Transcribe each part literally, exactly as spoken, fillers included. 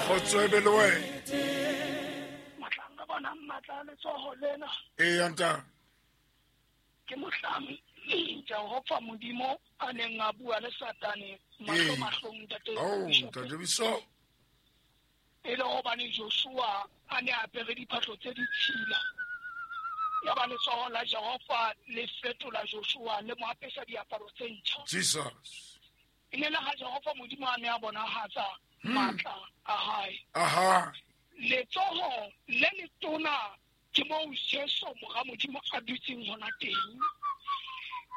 Kgotso e be le wena. Mohlang re bonang matla a letsoho lena. Eya ntate. Ke mohlang Jehova Modimo a neng a bua le Satane mahlo mahlong ntate. Oh, ntate Bishop. E le hobane Joshua a ne a apere diphahlo tse ditshila. Ya ba letsoho la Jehova le fetola Joshua le mo apesa diaparo tse ntjha. Jesus. E ne le ha Jehova Modimo a ne a bonahatsa matla a hae. Aha. Letsoho le letona ke moo Jesu mora Modimo a dutseng hona teng.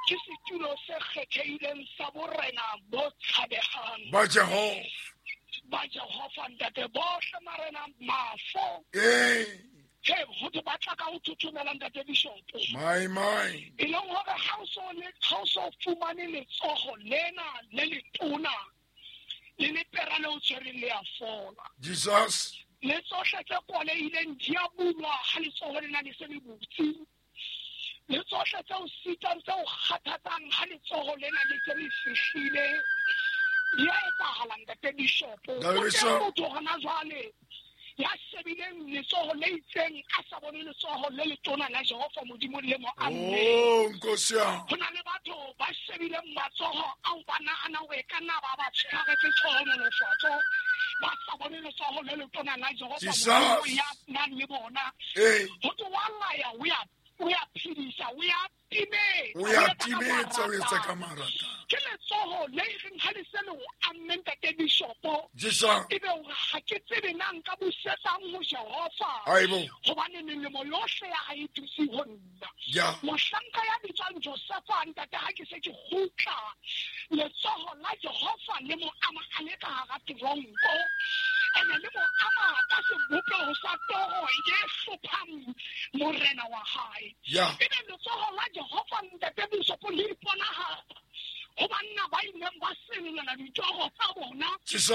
Ke setulo se kgethehileng sa borena bo tshabehang. Ba Jehova. Ba Jehova ntate bohle marena mafo. Eh. He ho te batla ka ho thuthumela ntate Bishop. My my. E leng hore ha o so le ha o so fumane letsoho lena le letona le lepera le o tshwereng le a fola. Jesus. Le tsohle tse kwalehileng di a bulwa ha letsoho lena le se le butse. Le tsohle tse o sitang tse o kgathatsang ha letsoho lena le se le fihlile di a etsahala ntate Bishop. Ntate O teng Bishop. motho hona jwale ya shebileng letsoho le itseng a sa bone letsoho le letona la Jehova Modimo le mo ammeng. Oh, Nkosi yami. Ho na le batho ba shebileng matsoho ao ba nahana hore e ka nna ba ba tshwaretse tlhohonolofatso, ba sa bone letsoho le letona la Jehova Jesus. Modimo ya nang le bona. Eh. Ho thwe wa laya, o ya, o ya phedisa, o ya timetsa, O ya o etsa ka timetsa, o etsa ka marata. marata. Ke letsoho le reng ha le se le o amme ntate Bishopo. Jesus. Ebe hore ha ke tsebe na nka busetsang ho Jehova. Aibo. Hobane melemo yohle ya hae e dutse ho nna. Ya. Mohlanka ya bitswang Josefa ntate ha ke se ke kgutla, letsoho la Jehova le mo ama a le ka hara teronko. Ene le mo ama ka sebopeho sa toro e hlophang morena wa hae. Ya. Ebe letsoho la Jehova ntate Bishopo le iponahatsa ho banna ba ileng ba senolela ditoro tsa bona. Jesus.